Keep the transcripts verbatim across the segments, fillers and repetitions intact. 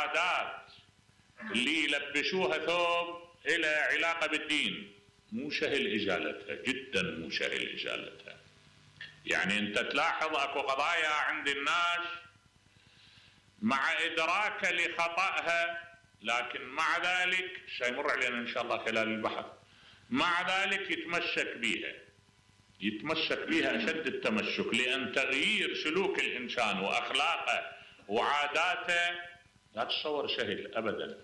عادات اللي يلبسوها ثوب إلى علاقة بالدين مو سهل إزالتها، جدا مو سهل إزالتها. يعني أنت تلاحظ أكو قضايا عند الناس مع إدراك لخطأها، لكن مع ذلك سيمر علينا إن شاء الله خلال البحث، مع ذلك يتمسك بها يتمسك بها أشد التمسك، لأن تغيير سلوك الإنسان وأخلاقه وعاداته لا تتصور سهل أبدا.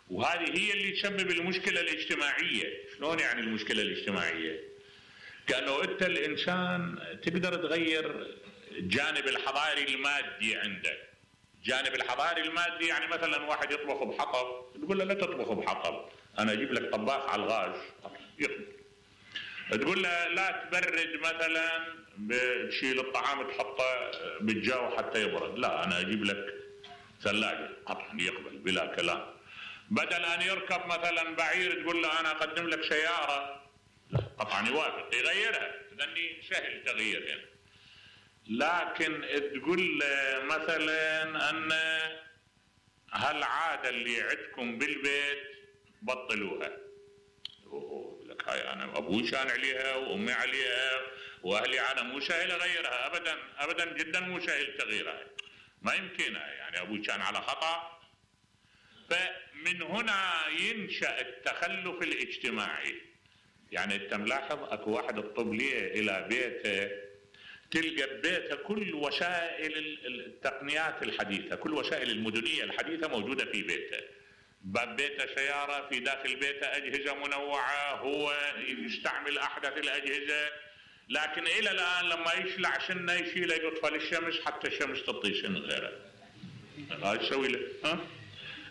وهذه هي اللي تسبب المشكلة الاجتماعية. شلون يعني المشكلة الاجتماعية؟ كأنه أنت الإنسان تقدر تغير الجانب الحضاري المادي عندك. الجانب الحضاري المادي يعني مثلا واحد يطبخ بحطب، تقول له لا تطبخ بحطب، أنا أجيب لك طباخ على الغاز يطبخ. تقول له لا تبرد مثلا، بتشيل الطعام تحطه بالجو حتى يبرد، لا أنا أجيب لك ثلاجة، طبعا يقبل بلا كلام. بدل أن يركب مثلا بعير تقول له أنا أقدم لك سيارة، طبعا يوافق يغيرها، لأني سهل تغييرها. لكن تقول مثلا أن هالعادة اللي عندكم بالبيت بطلوها، لك هاي أنا أبوي كان عليها وأمي عليها وأهلي، أنا مو سهل أغيرها أبدا أبدا، جدا مو سهل تغييرها، ما يمكنها، يعني أبوي كان على خطأ. فمن هنا ينشأ التخلف الاجتماعي. يعني أنت ملاحظ أكو واحد الطب ليه إلى بيته، تلقى ببيته كل وسائل التقنيات الحديثة، كل وسائل المدنية الحديثة موجودة في بيته. باب بيته سيارة، في داخل بيته أجهزة منوعة، هو يستعمل أحدث الأجهزة، لكن إلى الآن لما يشلع سنة يشيله يطفى للشمس حتى الشمس تعطي سن غيره. هاي يسوي له ها؟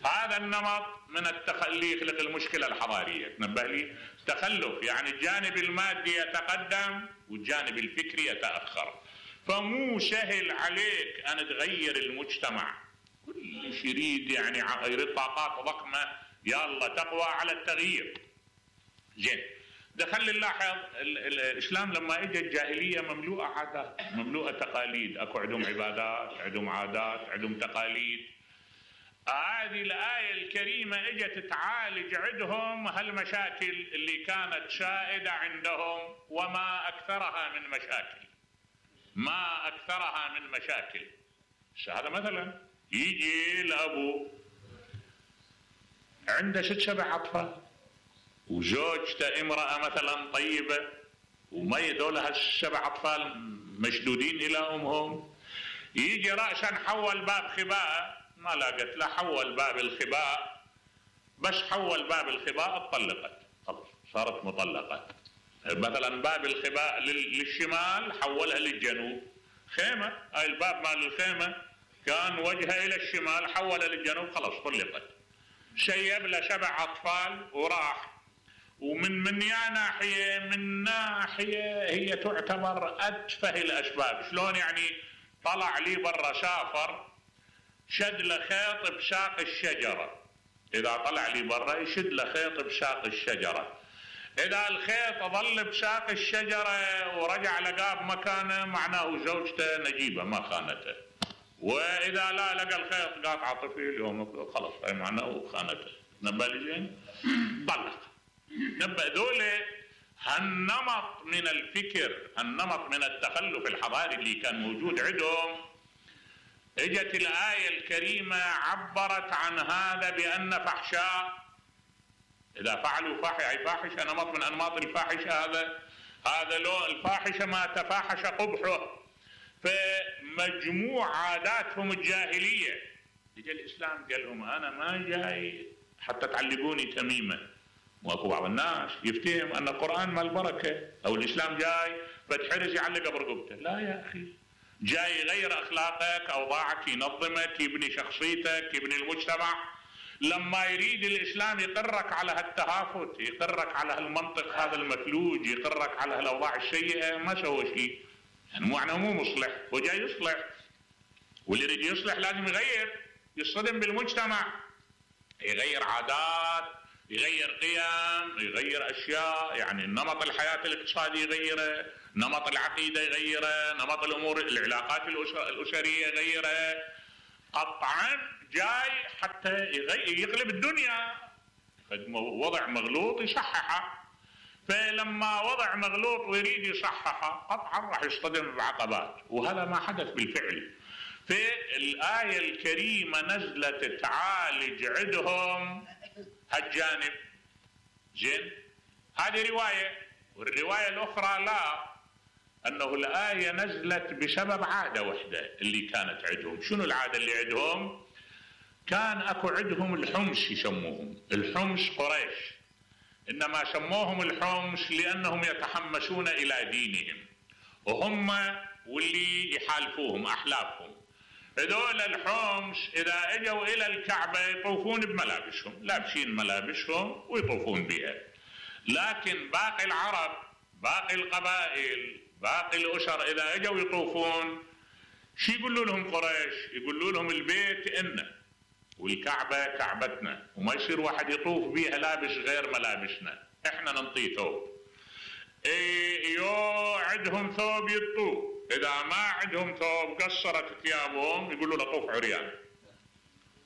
هذا النمط من التخلي يخلق المشكلة الحضارية. تنبه لي تخلف، يعني الجانب المادي يتقدم والجانب الفكري يتأخر، فمو سهل عليك أن تغير المجتمع. كل شيء يريد يعني يريد طاقات ضخمة، يلا تقوى على التغيير. زين، دخل نلاحظ الإسلام لما اجى الجاهلية مملوءة عادات، مملوءة تقاليد، اكو عندهم عبادات، عندهم عادات، عندهم تقاليد. هذه الآية الكريمة اجت تعالج عندهم هالمشاكل اللي كانت سائدة عندهم، وما أكثرها من مشاكل، ما أكثرها من مشاكل. هذا مثلا يجي الأبو عنده ست سبع أطفال وزوجته امرأة مثلا طيبة، وما يدول هالسبع أطفال مشدودين إلى أمهم، يجي رأسا حول باب خباء، ما لاقت لا حول باب الخباء، بس حول باب الخباء اتطلقت، خلاص صارت مطلقة. مثلا باب الخباء للشمال حولها للجنوب، خيمة، هاي الباب مال الخيمة كان وجهها إلى الشمال حولها للجنوب، خلاص طلقت. شيب له سبع أطفال وراح. ومن من يا ناحية، من ناحية هي تعتبر أتفه الأسباب. شلون يعني؟ طلع لي برا سافر، شد له خيط بساق الشجرة، إذا طلع لي برا يشد له خيط بساق الشجرة، إذا الخيط ظل بساق الشجرة ورجع لقاه بمكانه معناه زوجته نجيبة ما خانته، وإذا لا لقى الخيط قاطع طفل يوم خلص هاي معناه خانته. نبأ لي زين؟ طلق. نبأ دولة هالنمط من الفكر، هالنمط من التخلف الحضاري اللي كان موجود عندهم. اجت الآية الكريمة عبرت عن هذا بأن فحشاء، إذا فعلوا فاحشة، فاحشة نمط من أنماط الفاحشة، هذا هذا لو الفاحشة ما تفاحش قبحه. فمجموع عاداتهم الجاهلية، اجى الإسلام قال لهم أنا ما جاي حتى تعلقوني تميمة. واكو بعض الناس يفتهم أن القرآن مال بركة أو الإسلام جاي فتحرز يعلق برقبته، لا يا أخي، جاي يغير أخلاقك، أوضاعك، ينظمك، يبني شخصيتك، يبني المجتمع. لما يريد الإسلام يقرك على هالتهافت، يقرك على هالمنطق هذا المفلوج، يقرك على هالأوضاع السيئة، ما سوى شيء، يعني معنى مو مصلح، هو جاي يصلح، واللي يريد يصلح لازم يغير، يصطدم بالمجتمع، يغير عادات، يغير قيم، يغير أشياء، يعني نمط الحياة الاقتصادي يغيره، نمط العقيدة يغيره، نمط الأمور العلاقات الأسرية يغيره. قطعا جاي حتى يقلب الدنيا، وضع مغلوط يصححه. فلما وضع مغلوط ويريد يصححه قطعا راح يصطدم بعقبات، وهذا ما حدث بالفعل. فالآية الكريمة نزلت تعالج عندهم هالجانب. زين، هذه رواية. والرواية الأخرى لا، أنه الآية نزلت بسبب عادة وحدة اللي كانت عندهم. شنو العادة اللي عندهم؟ كان أكو عندهم الحمص يسموهم، الحمص قريش، إنما سموهم الحمص لأنهم يتحمسون إلى دينهم، وهم واللي يحالفوهم أحلافهم. هذول الحمص إذا اجوا إلى الكعبة يطوفون بملابسهم، لابسين ملابسهم ويطوفون بها. لكن باقي العرب، باقي القبائل، باقي الأسر إذا اجوا يطوفون شو يقولوا لهم قريش؟ يقولوا لهم البيت إنه والكعبة كعبتنا، وما يصير واحد يطوف بيها لابس غير ملابسنا، احنا ننطيه ثوب. إيه يو عندهم ثوب يطوف، إذا ما عندهم ثوب قصرت ثيابهم يقولوا له طوف عريان،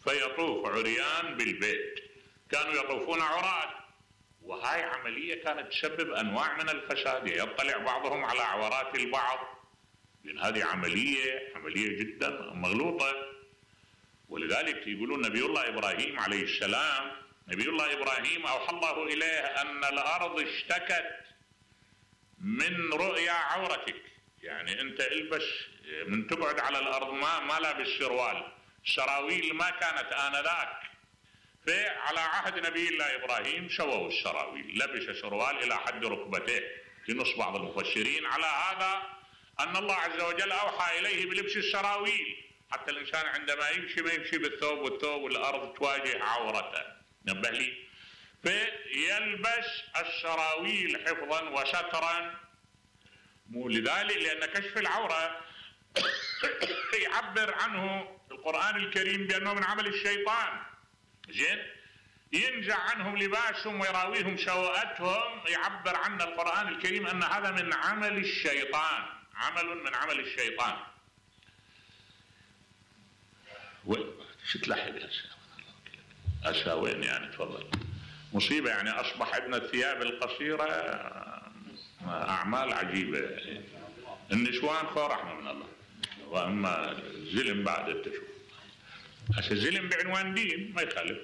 فيطوف عريان بالبيت. كانوا يطوفون عراة، وهاي عملية كانت تسبب أنواع من الفساد، يطلع بعضهم على عورات البعض، لأن هذه عملية عملية جدا مغلوطة. ولذلك يقولون نبي الله إبراهيم عليه السلام، نبي الله إبراهيم أوحى الله إليه أن الأرض اشتكت من رؤيا عورتك، يعني أنت البس من تقعد على الأرض ما ما لابس سروال، السراويل ما كانت آنذاك. فعلى عهد نبي الله إبراهيم سووا السراويل، لبس سروال إلى حد ركبتيه، لنص بعض المفسرين على هذا أن الله عز وجل أوحى إليه بلبس السراويل، حتى الإنسان عندما يمشي ما يمشي بالثوب والثوب والأرض تواجه عورته. نبه لي، فيلبس السراويل حفظا وسترا. مو لذلك لأن كشف العورة يعبر عنه القرآن الكريم بأنه من عمل الشيطان. زين، ينزع عنهم لباسهم ويراويهم سوءتهم، يعبر عنه القرآن الكريم أن هذا من عمل الشيطان، عمل من عمل الشيطان. وين شو تلاحظ هسه وين يعني؟ تفضل. مصيبة يعني، أصبح عندنا الثياب القصيرة أعمال عجيبة. النسوان خو رحمة من الله، وأما زلم بعد التشوف. هسه زلم بعنوان دين ما يخالف،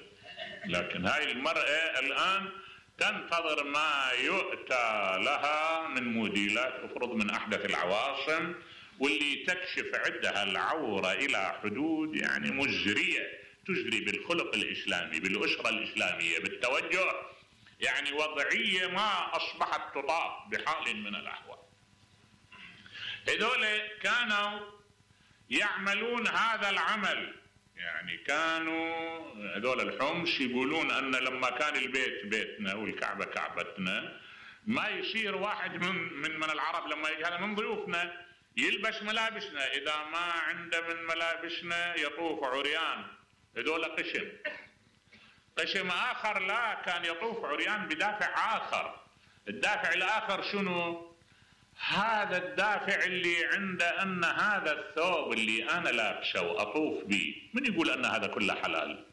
لكن هاي المرأة الآن تنتظر ما يؤتى لها من موديلات تفرض من أحدث العواصم، واللي تكشف عندها العورة إلى حدود يعني مزرية، تزري بالخلق الإسلامي، بالأسرة الإسلامية، بالتوجه، يعني وضعية ما أصبحت تطاق بحال من الأحوال. هذول كانوا يعملون هذا العمل، يعني كانوا هذول الحمص يقولون أن لما كان البيت بيتنا والكعبة كعبتنا، ما يصير واحد من من, من العرب لما يجي هذا من ضيوفنا يلبس ملابسنا، إذا ما عنده من ملابسنا يطوف عريان. هذول قشم قشم آخر لا، كان يطوف عريان بدافع آخر. الدافع الآخر شنو؟ هذا الدافع اللي عنده أن هذا الثوب اللي أنا لابسه وأطوف به، من يقول أن هذا كله حلال؟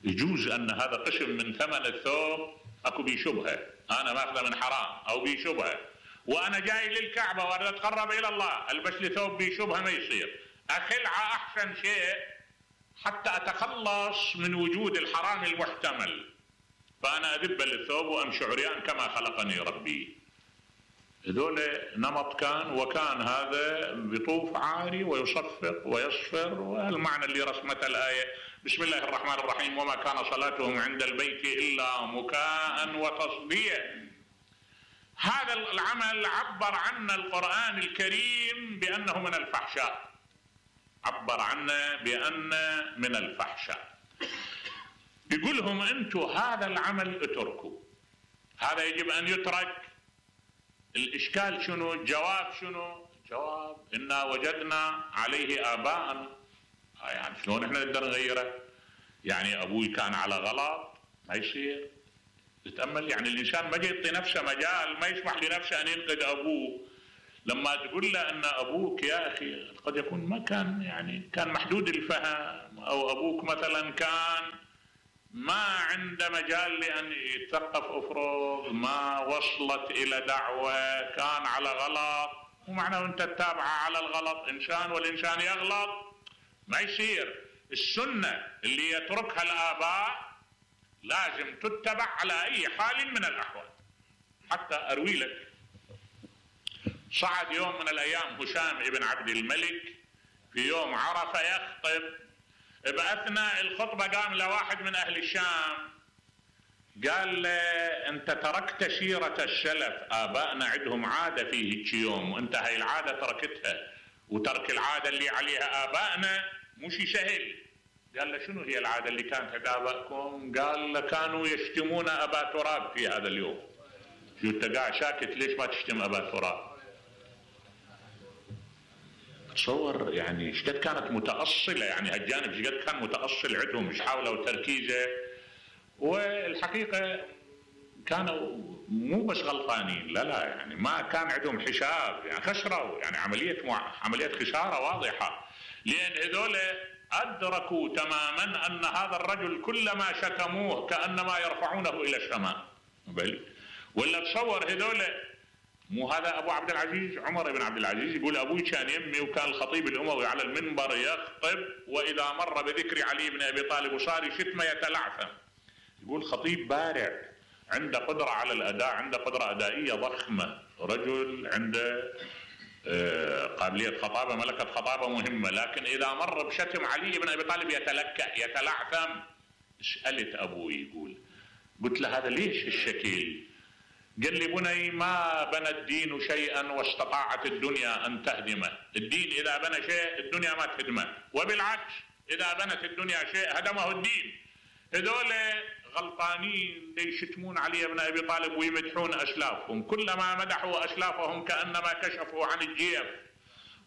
يجوز أن هذا قسم من ثمن الثوب أكو بيه شبهة، أنا ماخذه من حرام أو بيه شبهة، وأنا جاي للكعبة وأنا أتقرب إلى الله ألبس لي ثوب بيه شبهة، ما يصير. أخلع أحسن شيء حتى أتخلص من وجود الحرام المحتمل، فأنا أذب للثوب وأمشي عريان كما خلقني ربي. هذول نمط كان، وكان هذا بيطوف عاري ويصفق ويصفر، والمعنى اللي رسمته الآية بسم الله الرحمن الرحيم وما كان صلاتهم عند البيت إلا مكاء وتصديا. هذا العمل عبر عنه القرآن الكريم بأنه من الفحشاء، عبر عنه بأن من الفحشاء. يقولهم أنتم هذا العمل اتركوا، هذا يجب أن يترك. الإشكال شنو؟ الجواب شنو؟ الجواب إنا وجدنا عليه آباءنا. يعني شلون إحنا نقدر نغيره؟ يعني أبوي كان على غلط، ما يصير. تتأمل يعني الإنسان ما يعطي نفسه مجال، ما يسمح لنفسه أن ينقد أبوه. لما تقول له أن أبوك يا أخي قد يكون ما كان يعني كان محدود الفهم، او ابوك مثلا كان ما عنده مجال لان يتثقف افرض، ما وصلت الى دعوه، كان على غلط، ومعناه انت تتابعه على الغلط، انسان والانسان يغلط، ما يصير. السنه اللي يتركها الاباء لازم تتبع على اي حال من الاحوال. حتى اروي لك، صعد يوم من الايام هشام ابن عبد الملك في يوم عرفه يخطب، باثناء الخطبه قام لواحد من اهل الشام قال له انت تركت سيره السلف، ابائنا عندهم عاده في هيك يوم وانت هاي العاده تركتها، وترك العاده اللي عليها ابائنا مش سهل. قال له شنو هي العاده اللي كانت عند ابائكم؟ قال له كانوا يشتمون ابا تراب في هذا اليوم. شو انت قاعد ساكت ليش ما تشتم ابا تراب؟ تصور يعني ايش قد كانت متاصله، يعني هالجانب ايش قد كان متاصل عندهم، مش حاولوا تركيزه. والحقيقه كانوا مو بس غلطانين، لا لا يعني ما كان عندهم حساب، يعني خسروا، يعني عمليه مع... عمليه خساره واضحه، لان هذول ادركوا تماما ان هذا الرجل كلما شتموه كانما يرفعونه الى السماء. بل ولا تصور هذول، مو هذا ابو عبد العزيز عمر بن عبد العزيز يقول ابوي كان يمي وكان الخطيب الاموي على المنبر يخطب، واذا مر بذكر علي بن ابي طالب وصار شتمه يتلعثم. يقول خطيب بارع عنده قدره على الاداء، عنده قدره ادائيه ضخمه، رجل عنده قابليه خطابه، ملكه خطابه مهمه، لكن اذا مر بشتم علي بن ابي طالب يتلكأ يتلعثم. سالت ابوي يقول، قلت له هذا ليش الشكل؟ قال لي بني ما بنى الدين شيئا واستطاعت الدنيا ان تهدمه، الدين اذا بنى شيء الدنيا ما تهدمه، وبالعكس اذا بنت الدنيا شيء هدمه الدين. هذول غلطانين يشتمون علي بن ابي طالب ويمدحون اسلافهم، كلما مدحوا اسلافهم كانما كشفوا عن الجيف،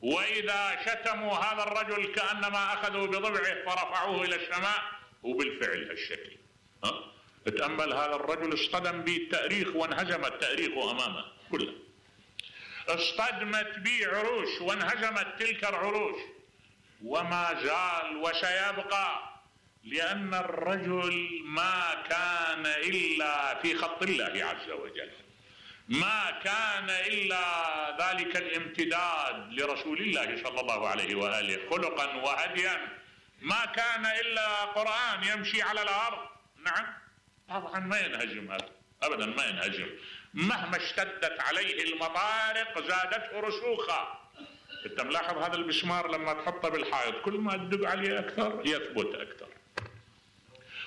واذا شتموا هذا الرجل كانما اخذوا بضبعه فرفعوه الى السماء. وبالفعل هالشكل. ها؟ تأمل هذا الرجل اصطدم به التاريخ وانهزم التاريخ امامه كله. اصطدمت به عروش وانهزمت تلك العروش، وما زال وسيبقى، لأن الرجل ما كان إلا في خط الله عز وجل، ما كان إلا ذلك الامتداد لرسول الله صلى الله عليه وآله خلقا وهديا، ما كان إلا قرآن يمشي على الأرض. نعم طبعا ما ينهزم هذا أبدا، ما ينهزم، مهما اشتدت عليه المطارق زادته رسوخا. انت ملاحظ هذا المسمار لما تحطه بالحائط كل ما تدق عليه أكثر يثبت أكثر،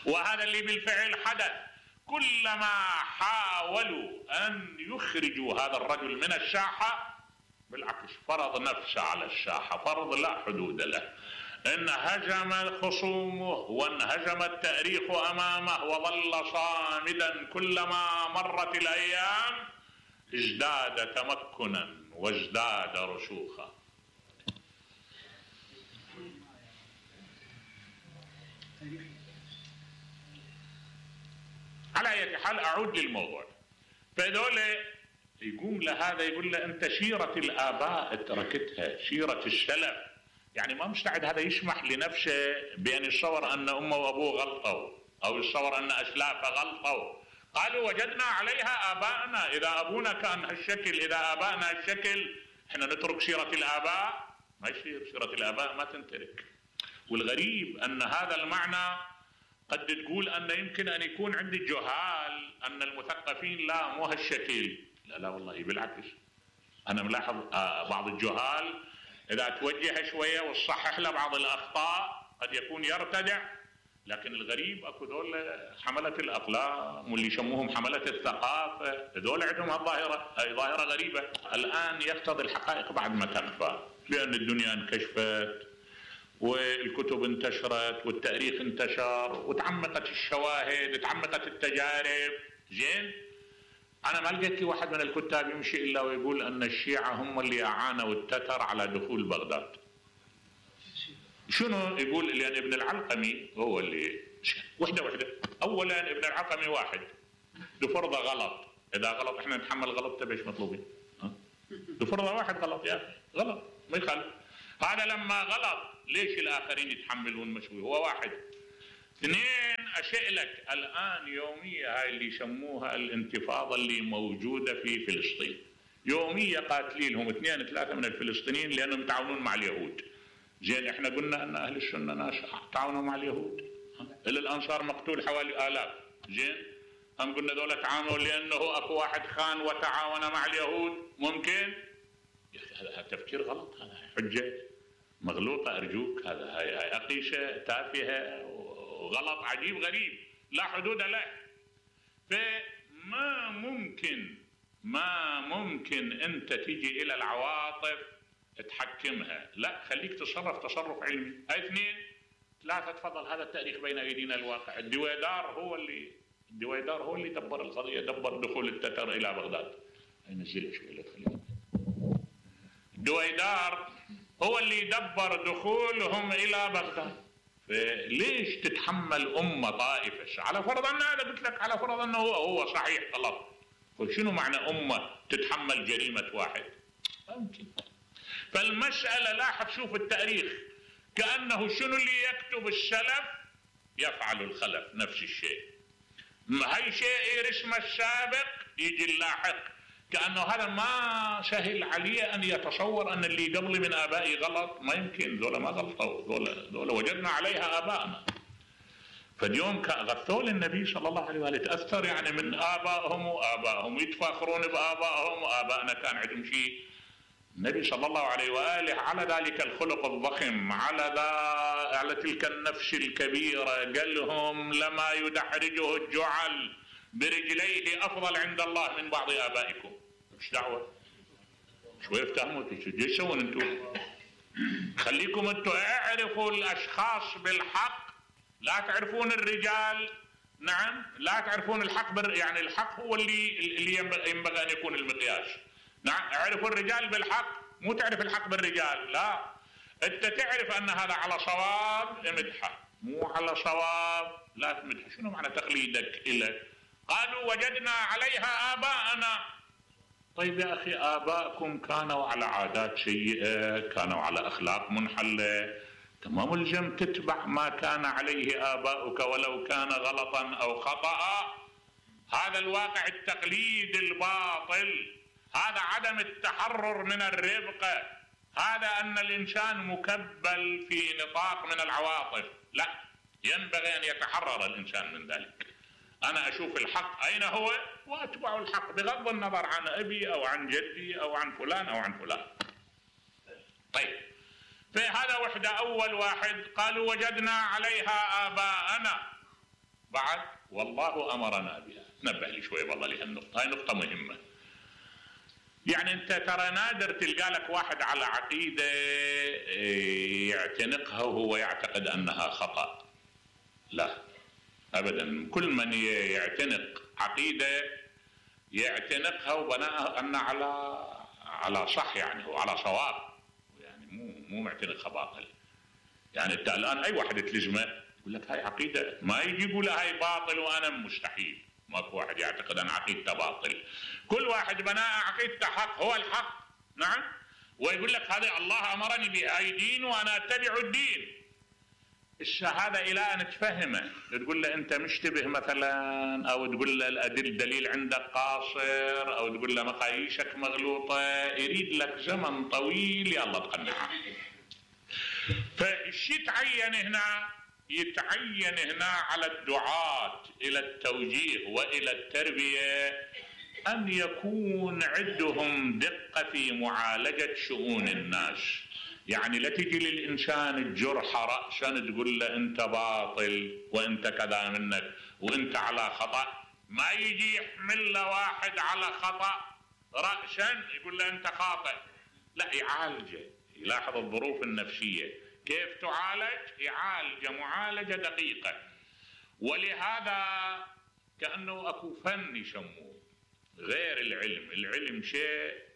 وهذا اللي بالفعل حدث. كلما حاولوا أن يخرجوا هذا الرجل من الساحة بالعكس فرض نفسه على الساحة، فرض لا حدود له، انهزم خصومه وانهزم التاريخ أمامه وظل صامدا. كلما مرت الأيام ازداد تمكنا وازداد رسوخا. على أي حال أعود للموضوع. فهذول يقوم لهذا يقول له أنت سيرة الآباء تركتها، سيرة السلف، يعني ما مستعد هذا يسمح لنفسه بأن يتصور أن أمه وأبوه غلطوا أو يتصور أن أسلافه غلطوا. قالوا وجدنا عليها آباءنا، إذا أبونا كان هالشكل، إذا آباءنا هالشكل، إحنا نترك سيرة الآباء؟ ما يصير، سيرة الآباء ما تنترك. والغريب أن هذا المعنى قد تقول أن يمكن أن يكون عند الجهال، أن المثقفين لا مو هالشكل. لا لا والله بالعكس، أنا ملاحظ بعض الجهال إذا توجه شوية وتصحح له بعض الأخطاء قد يكون يرتدع، لكن الغريب أكو ذول حملة الأقلام واللي يسموهم حملة الثقافة، ذول عندهم هالظاهرة، هاي ظاهرة غريبة. الآن يفتض الحقائق بعد ما تنفى، لأن الدنيا انكشفت والكتب انتشرت والتاريخ انتشر وتعمقت الشواهد، تعمقت التجارب. زين، أنا ما لقيت لي واحد من الكتاب يمشي إلا ويقول أن الشيعة هم اللي أعانوا التتر على دخول بغداد. شنو يقول؟ لأن ابن العلقمي هو اللي وحدة وحدة. أولا ابن العلقمي واحد لفرضة غلط، إذا غلط إحنا نتحمل غلطته بيش مطلوبين. لفرضة واحد غلط يا أخي، غلط ما يخالف. هذا لما غلط ليش الآخرين يتحملون مشوي؟ هو واحد. اثنين، أشئلك الآن يومية هاي اللي يسموها الانتفاضة اللي موجودة في فلسطين، يومية قاتلين لهم اثنين ثلاثة من الفلسطينيين لأنهم يتعاونون مع اليهود. زين احنا قلنا أن أهل السنة ناس تعاونوا مع اليهود، إلى الأنصار مقتول حوالي آلاف. زين هم قلنا دولة تعاونوا لأنه أكو واحد خان وتعاون مع اليهود، ممكن؟ هذا تفكير غلط، هذا حجة مغلوطة أرجوك، هذا هاي هاي أقيشة تافهة وغلط عجيب غريب لا حدود له. فما ممكن ما ممكن أنت تيجي إلى العواطف تحكمها، لا خليك تصرف تصرف علمي. هاي اثنين. ثلاثة، تفضل هذا التاريخ بين أيدينا الواقع. الدويدار هو اللي الدويدار هو اللي دبر القضية، دبر دخول التتر إلى بغداد. هاي نزلها شوي لا تخليها. الدويدار هو اللي دبر دخولهم إلى بغداد. فليش تتحمل أمة طائفة؟ على فرض أن هذا قلت لك، على فرض أنه هو هو صحيح غلط، شنو معنى أمة تتحمل جريمة واحد؟ ممكن. فالمسألة لاحظ شوف التاريخ كأنه شنو اللي يكتب السلف يفعل الخلف نفس الشيء. هاي شيء رسم السابق يجي اللاحق، كأنه هذا ما سهل عليه أن يتصور أن اللي قبلي من آبائي غلط. ما يمكن، ذولا ما غلطوا، ذولا ذولا وجدنا عليها آبائنا. فاليوم غثوا للنبي صلى الله عليه وآله، تأثر يعني من آبائهم وآبائهم، يتفاخرون بآبائهم وآبائنا كان عندهم شيء. النبي صلى الله عليه وآله على ذلك الخلق الضخم، على ذا على تلك النفس الكبيرة، قال لهم لما يدحرجه الجعل برجليه أفضل عند الله من بعض آبائكم. مش دعوة شوي افتهموا ايش يسوون انتم؟ خليكم انتم اعرفوا الأشخاص بالحق، لا تعرفون الرجال. نعم لا تعرفون الحق بر... يعني الحق هو اللي اللي ينبغي أن يكون المقياس. نعم اعرفوا الرجال بالحق، مو تعرف الحق بالرجال. لا، انت تعرف ان هذا على صواب امدحه، مو على صواب لا تمدحه. شنو معنى تقليدك إله؟ قالوا وجدنا عليها آباءنا. طيب يا أخي آباءكم كانوا على عادات سيئة، كانوا على أخلاق منحلة، ما ملزم تتبع ما كان عليه آباؤك ولو كان غلطا أو خطأ. هذا الواقع التقليد الباطل، هذا عدم التحرر من الربقة، هذا أن الإنسان مكبل في نطاق من العواطف. لا، ينبغي أن يتحرر الإنسان من ذلك. أنا أشوف الحق أين هو وأتبع الحق بغض النظر عن أبي أو عن جدي أو عن فلان أو عن فلان. طيب فهذا وحدة. أول واحد قالوا وجدنا عليها آباءنا، بعد والله أمرنا بها. نبه لي شوي والله لهالنقطة، هاي نقطة مهمة. يعني أنت ترى نادر تلقى لك واحد على عقيدة يعتنقها وهو يعتقد أنها خطأ. لا أبدا، كل من يعتنق عقيدة يعتنقها وبناءها أن على على صح، يعني هو على صواب، يعني مو مو معتنقها باطل. يعني أنت الآن أي واحد تلزمه يقول لك هاي عقيدة، ما يجي يقول هاي باطل وأنا مستحيل. ماكو واحد يعتقد أن عقيدته باطل، كل واحد بناء عقيدته حق، هو الحق. نعم، ويقول لك هذا الله أمرني بهاي دين وأنا أتبع الدين. الشهادة إلى أن تفهمه، تقول له أنت مشتبه مثلا، أو تقول له الدليل عندك قاصر، أو تقول له مقاييسك مغلوطة، يريد لك زمن طويل يلا تقنعه. فالشي تعين هنا، يتعين هنا على الدعاة إلى التوجيه وإلى التربية أن يكون عندهم دقة في معالجة شؤون الناس. يعني لا تجي للإنسان الجرح رأسا تقول له أنت باطل وأنت كذا منك وأنت على خطأ. ما يجي يحمل له واحد على خطأ رأسا يقول له أنت خاطئ، لا، يعالجه، يلاحظ الظروف النفسية كيف تعالج، يعالج معالجة دقيقة. ولهذا كأنه أكو فن يسموه غير العلم. العلم شيء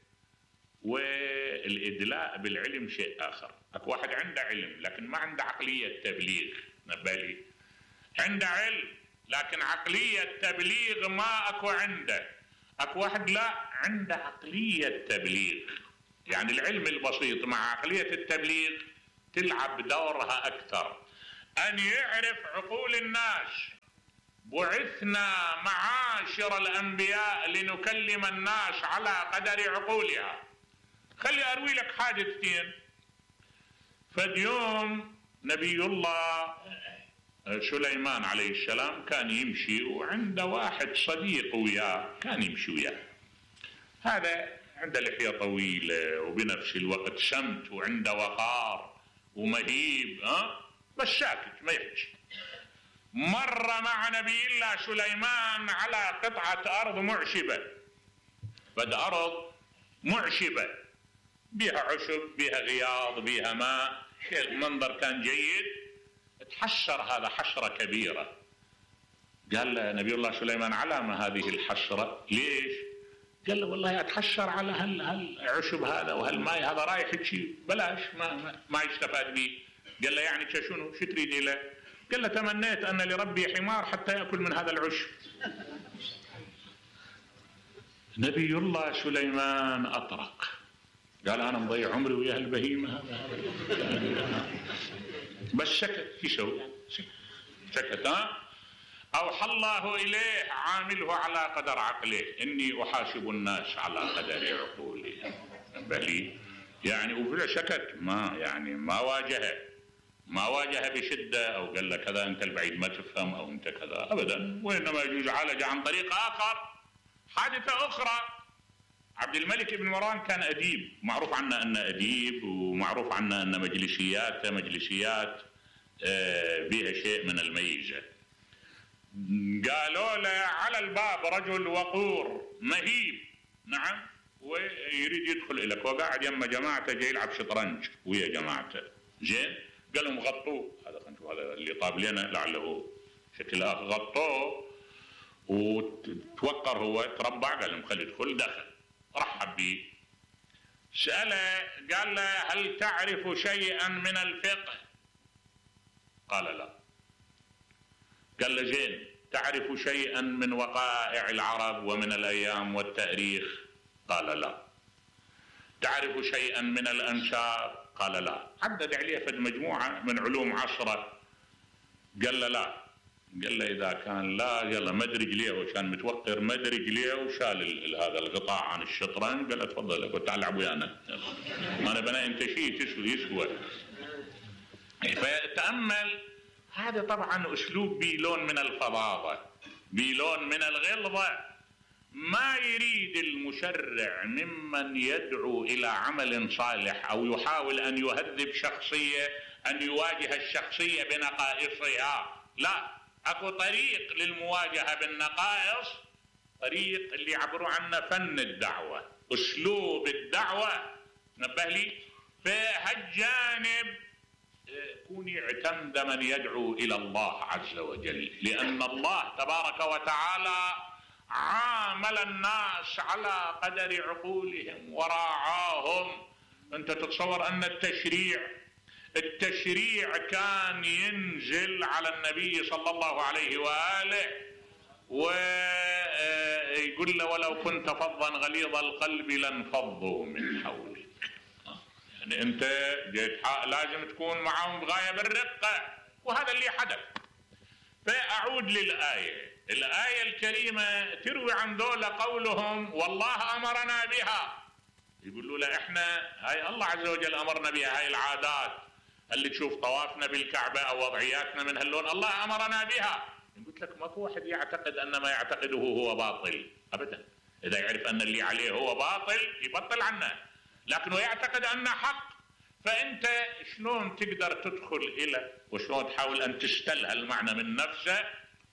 والإدلاء بالعلم شيء آخر. أكو واحد عنده علم لكن ما عنده عقلية تبليغ. نبالي عنده علم لكن عقلية تبليغ ما أكو عنده. أكو واحد لا عنده عقلية تبليغ، يعني العلم البسيط مع عقلية التبليغ تلعب دورها أكثر، أن يعرف عقول الناس. بعثنا معاشر الأنبياء لنكلم الناس على قدر عقولها. خلي أروي لك حادثتين. فاليوم نبي الله سليمان عليه السلام كان يمشي وعنده واحد صديق وياه، كان يمشي وياه. هذا عنده لحية طويلة وبنفس الوقت سمت وعنده وقار ومهيب، ها بس ساكت ما يحكي. مر مع نبي الله سليمان على قطعة أرض معشبة، بد أرض معشبة بها عشب بها غياض بها ماء، المنظر كان جيد. تحشر هذا حشرة كبيرة. قال له نبي الله سليمان على ما هذه الحشرة؟ ليش؟ قال له والله أتحشر على هال هالعشب هذا وهالماء هذا رايح شيء بلاش ما, ما, ما يستفاد به. قال له يعني شنو شو تريد له؟ قال له تمنيت أن لربي حمار حتى يأكل من هذا العشب. نبي الله سليمان أطرق، قال أنا مضيع عمري ويا البهيمة هذا. بس سكت. في شو سكت. ها أوحى الله إليه عامله على قدر عقله، إني أحاسب الناس على قدر عقولهم. بلي يعني وفي سكت، ما يعني ما واجهه ما واجه بشدة أو قال له كذا أنت البعيد ما تفهم أو أنت كذا أبدا، وإنما يجوز عالج عن طريق آخر. حادثة أخرى، عبد الملك بن مروان كان أديب، معروف عنه أنه أديب ومعروف عنه أن مجلسياته مجلسيات بها شيء من الميزة. قالوا له على الباب رجل وقور مهيب، نعم، ويريد يدخل إليك وقاعد يما جماعته جاي يلعب شطرنج ويا جماعته. زين قال لهم غطوه، هذا خلينا نشوف هذا اللي طاب لنا لعله شكل آخر. غطوه وتوقر هو تربع، قال لهم خلي يدخل. دخل رحب به، سأله قال له هل تعرف شيئا من الفقه؟ قال لا. قال له زين تعرف شيئا من وقائع العرب ومن الأيام والتاريخ؟ قال لا. تعرف شيئا من الأنشار؟ قال لا. عدد عليه فد مجموعة من علوم عشرة. قال له لا. قال له إذا كان لا يلا مد رجليه، وكان متوقر مد رجليه وشال هذا القطاع عن الشطرنج. قال له تفضل قلت تعال العب ويانا، ما انا بنا انت شيء تسوي يسوى. فتأمل هذا طبعا اسلوب بلون من الفظاظة، بلون من الغلظة. ما يريد المشرع ممن يدعو الى عمل صالح او يحاول ان يهذب شخصية ان يواجه الشخصية بنقائصها، لا، اكو طريق للمواجهة بالنقائص، طريق اللي يعبروا عنه فن الدعوة، اسلوب الدعوة. نبه لي فهالجانب كون يعتمد من يدعو الى الله عز وجل، لان الله تبارك وتعالى عامل الناس على قدر عقولهم وراعاهم. انت تتصور ان التشريع التشريع كان ينزل على النبي صلى الله عليه وآله ويقول له ولو كنت فظا غليظ القلب لانفضوا من حولك. يعني انت جيت لازم تكون معهم بغاية بالرقة، وهذا اللي حدث. فأعود للآية، الآية الكريمة تروي عن ذولا قولهم والله أمرنا بها. يقولوا له احنا هاي الله عز وجل أمرنا بها، هاي العادات اللي تشوف طوافنا بالكعبة أو وضعياتنا من هاللون الله أمرنا بها. قلت لك ماكو واحد يعتقد أن ما يعتقده هو باطل أبدا. إذا يعرف أن اللي عليه هو باطل يبطل عنه، لكنه يعتقد أنه حق. فأنت شلون تقدر تدخل إلى وشلون تحاول أن تستلها المعنى من نفسه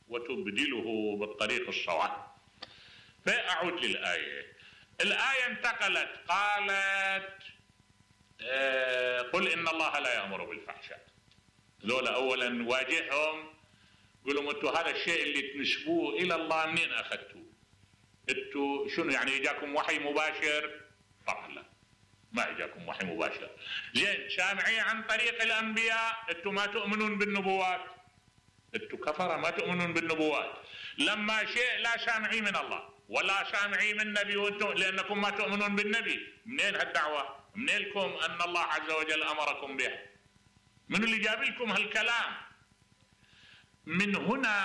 وتبدله بالطريق الصواب. فأعود للآية. الآية انتقلت قالت آه قل إن الله لا يأمر بالفحشاء. ذولا أولا واجههم، قولوا انتوا هذا الشيء اللي تنسبوه إلى الله منين أخذتوه؟ انتوا شنو يعني يجاكم وحي مباشر؟ طبعا لا، ما يجاكم وحي مباشر. زين سامعين عن طريق الأنبياء، انتوا ما تؤمنون بالنبوات، انتوا كفرة ما تؤمنون بالنبوات. لما شيء لا سامعين من الله ولا سامعين من نبي وانتم لأنكم ما تؤمنون بالنبي، منين هالدعوة؟ منين لكم أن الله عز وجل أمركم بها؟ من اللي جاب لكم هالكلام؟ من هنا